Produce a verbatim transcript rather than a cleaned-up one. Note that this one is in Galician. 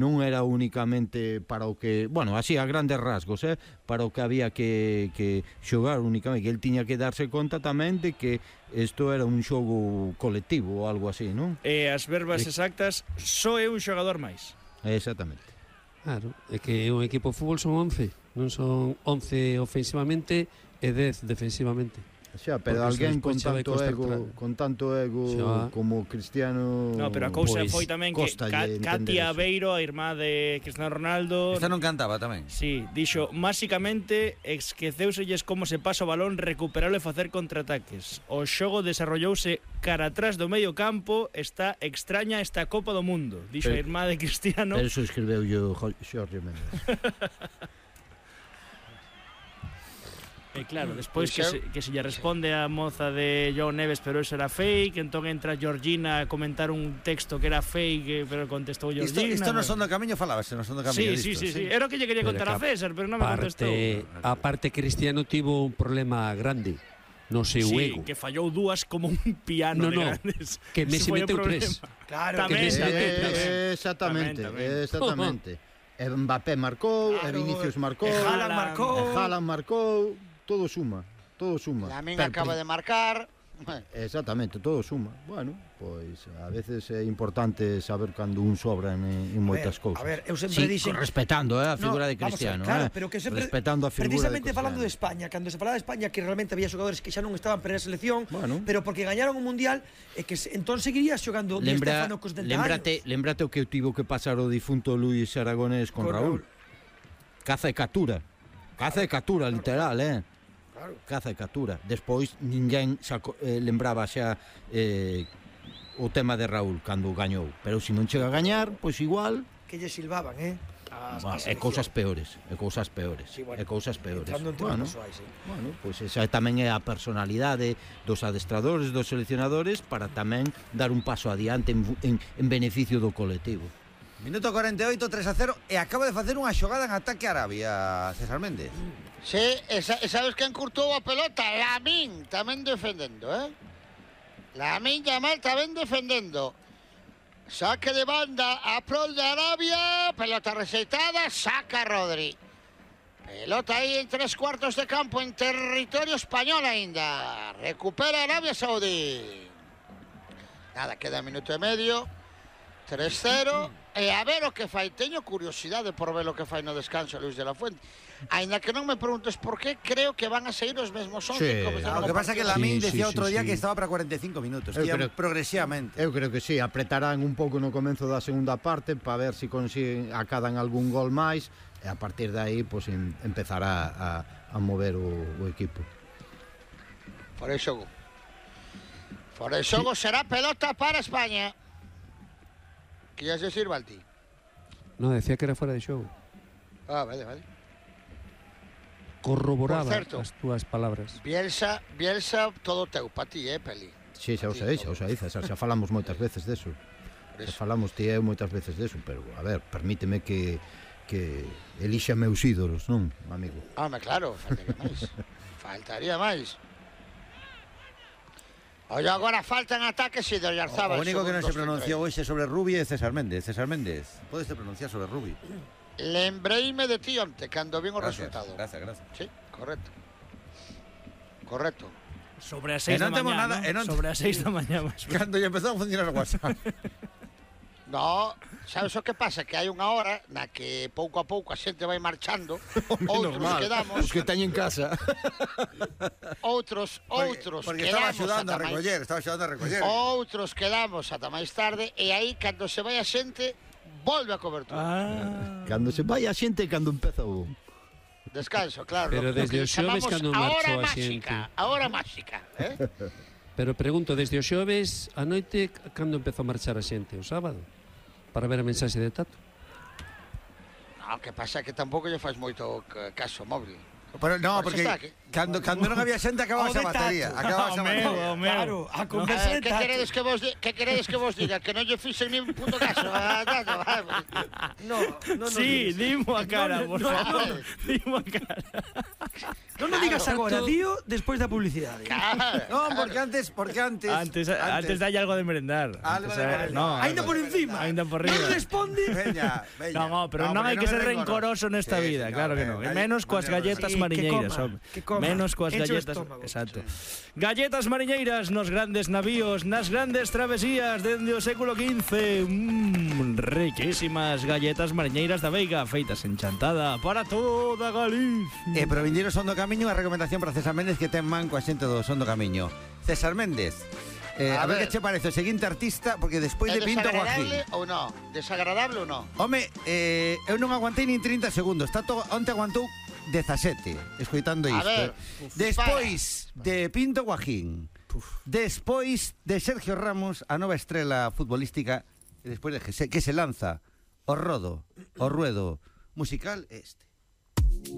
non era únicamente para o que, bueno, así a grandes rasgos, eh, para o que había que, que xogar únicamente, que el tiña que darse conta tamén de que isto era un xogo colectivo ou algo así, non? E as verbas exactas, só é un xogador máis. Exactamente. Claro, é que un equipo de fútbol son once, non son once ofensivamente e dez defensivamente. Xa, pero alguén con tanto ego, con tanto ego como Cristiano. No, pero a cousa foi tamén que Katia Aveiro, a irmá de Cristiano Ronaldo, esta non cantaba tamén. Sí, dixo, máxicamente esqueceuselles como se pasa o balón, recuperalo e facer contraataques. O xogo desarrollouse cara atrás do medio campo, está extraña esta Copa do Mundo, dixo a irmá de Cristiano. Pero eso escribeu yo Xorge Méndez. E claro, despois que se, que se lle responde a moza de João Neves, pero eso era fake, entón entra Georgina a comentar un texto que era fake, pero contestou Georgina. Isto, isto no son do camiño falábase, no son do camiño. Sí, sí, sí, sí, era o que lle quería contar a César, pero non me contestou. A parte Cristiano tivo un problema grande no seu sí, ego. Que fallou dúas como un piano no, de no, grandes. Que Messi meteu tres. Claro, que Messi meteu tres. Exactamente, exactamente. Mbappé marcou, claro, e Vinicius marcou, e Haaland marcou, e Haaland marcou, todo suma, todo suma. Lamine acaba de marcar. Exactamente, todo suma. Bueno, pois a veces é importante saber cando un sobra en, en moitas cousas. A ver, eu sempre sí, dixen respetando, eh, a figura no, de Cristiano, ver, claro, eh, pero que sempre, respetando a figura precisamente de falando de España, cando se falaba de España que realmente había xogadores que xa non estaban para a selección, bueno, pero porque gañaron o mundial e que entón seguirías xogando Di Stéfano cos setenta lembrate, años. Lembrate o que tivo que pasar o difunto Luis Aragonés con, con Raúl. Raúl. Caza e captura. Caza e captura, literal, eh. Claro. Caza e captura. Despois ninguén saco, eh, lembraba xa eh, o tema de Raúl cando gañou, pero se non chega a gañar, pois igual que lle silbaban, eh? As, bueno, é cousas peores, é cousas peores, sí, bueno, é cousas peores. Bueno, persoais, sí. Bueno, pois esa tamén é a personalidade dos adestradores, dos seleccionadores para tamén dar un paso adiante en, en, en beneficio do colectivo. Minuto cuarenta e oito, tres a cero, e acaba de facer unha xogada en ataque a Arabia, César Méndez. Sí, e sabes quen curtou a pelota? Lamine, tamén defendendo, eh? Lamine Yamal tamén defendendo. Saque de banda a prol de Arabia, pelota rexeitada, saca Rodri. Pelota aí en tres cuartos de campo en territorio español aínda. Recupera Arabia Saudí. Nada, queda minuto e medio. tres cero. E a ver o que fai. Teño curiosidade por ver o que fai no descanso Luis de la Fuente. Ainda que non me preguntes por qué, creo que van a seguir os mesmos once. Sí. Ah, o que pasa é que Lamine sí, decía sí, outro sí, día sí. que estaba para cuarenta e cinco minutos, que iban progresivamente. Eu creo que sí, apretarán un pouco no comezo da segunda parte para ver se si consiguen acadan algún gol máis e a partir de aí pues, em, empezará a, a mover o, o equipo. Por eso Por eso sí. Será pelota para España. Que ya se sirva al ti. No, decía que era fuera de xogo. Ah, vale, vale. Corroboraba as túas palabras. Bielsa, Bielsa, todo teu, pa ti, eh, Peli. Sí, xa o sei, xa o sei, xa, xa falamos moitas veces deso. Xa falamos ti eu moitas veces deso, pero, a ver, permíteme que que elixa meus ídolos, non, amigo? Ah, claro, faltaría máis. Faltaría máis. Oye, agora faltan ataques e de Oyarzábal. O único que non se pronunciou hoxe sobre Rubi é César Méndez. César Méndez, podes te pronunciar sobre Rubi? Lembreime de ti onte, cando vin o gracias, resultado. Gracias, gracias. Sí, correcto. Correcto. Sobre as seis da mañá, nada, ¿no? Sobre as seis da mañá. Cando ya empezou a funcionar o WhatsApp. No, sabes o que pasa? Que hai unha hora na que pouco a pouco a xente vai marchando. Outros normal. Quedamos. Os que teñen casa. Outros, outros porque, porque estaba axudando a recoller, estaba axudando a recoller. Outros quedamos ata máis tarde e aí cando se vai a xente volve a cobertura. Ah. Cando se vai a xente cando empeza o descanso, claro. Pero desde o xoves cando marchou a xente. A hora máxica, eh? Pero pregunto, desde o xoves a noite cando empezou a marchar a xente? O sábado? Para ver a mensaxe de Tato. No, que pasa que tampouco lle faz moito caso móvil. Pero no, porque cando cando non había xente acababa a batería, acababa a batería. Claro, a conversa de Tato. Que queredes que vos que queredes que vos diga que non lle fixen nin punto caso. No, no, sí, dimo a cara, por favor. Dimo a cara. Non nos digas Claro. agora, dío, despois da publicidade. Claro, No, porque antes, porque antes... Antes, antes dalle algo de merendar. Algo Antes, de eh, merendar. no, Ainda por encima. Ainda por riba. Non responde. Veña, veña. No, no, pero non porque hai que é ser rencoroso nesta Sí, vida, señor, claro que eh, non. E galle- menos coas mañana- galletas Sí, que mariñeiras, coma, home. que coma. Menos coas Enche o galletas, estómago. exacto. Galletas mariñeiras nos grandes navíos, nas grandes travesías dende o século quince. Mmm, riquísimas galletas mariñeiras da Veiga, feitas en Chantada para toda Galicia. E pro vindeiro Son do Camiño, a recomendación para César Méndez, que ten man coa xente do Son do Camiño. César Méndez, eh, a, A ver ver. que che parece o seguinte artista, porque despois é de Pinto desagradable Guajín. ou non? Desagradable ou non? Home, eh, eu non aguantei nin trinta segundos. Tato, onte aguantou dezasete, escoitando A isto. ver, eh. Despois de Pinto Guajín, despois de Sergio Ramos, a nova estrela futbolística, e despois de que se, que se lanza o rodo, o ruedo musical este.